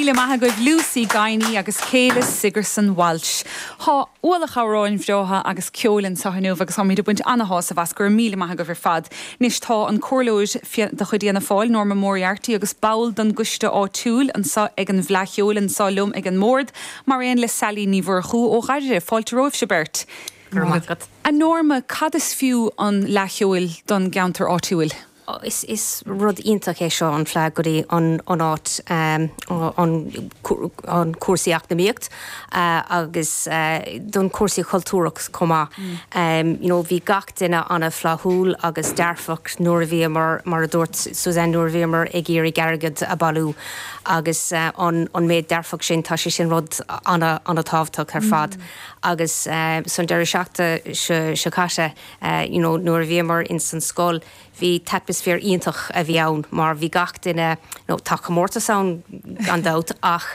míle maith agaibh Lucy Guiney agus Kayla Sigerson Walsh. Tá ualach amhráin bhreátha agus ceoil anseo inniu agus táimid ag baint ana-shásamh as. Go raibh míle maith agaibh ar fad. Anois tá an comhairleoir de chuid Fhianna Fáil, Norma Moriarty agus ball den gcoiste áitiúil anseo ag an bhFleadh Cheoil anseo liom ag an mbord, mar aon le Sally Ní Mhurchú ó Dhoire. Fáilte romhaibhse beirt. Go raibh maith agat. A Norma, cad is fiú an Fhleadh Cheoil don gceantar áitiúil? Is rud iontach é seo an Fleadh go dtí an áit, an cúrsaí eacnamaíocht agus don cúrsaí chultúrach chomh maith. You know bhí gach duine an-fhlaithiúil agus dearfach nuair a bhíomar, mar a dúirt Suzanne, nuair a bhíomar ag iarraidh airgead a bailiú agus an méid dearfach sin, tá sé sin rud an-tábhachtach ar fad. Agus san deireadh seachtaine seo caite, you know nuair a bhíomar ins an scoil, Bhí atmaisféar iontach a bhí ann mar bhí gach duine, nó tá comórtas ann gan dabht ach.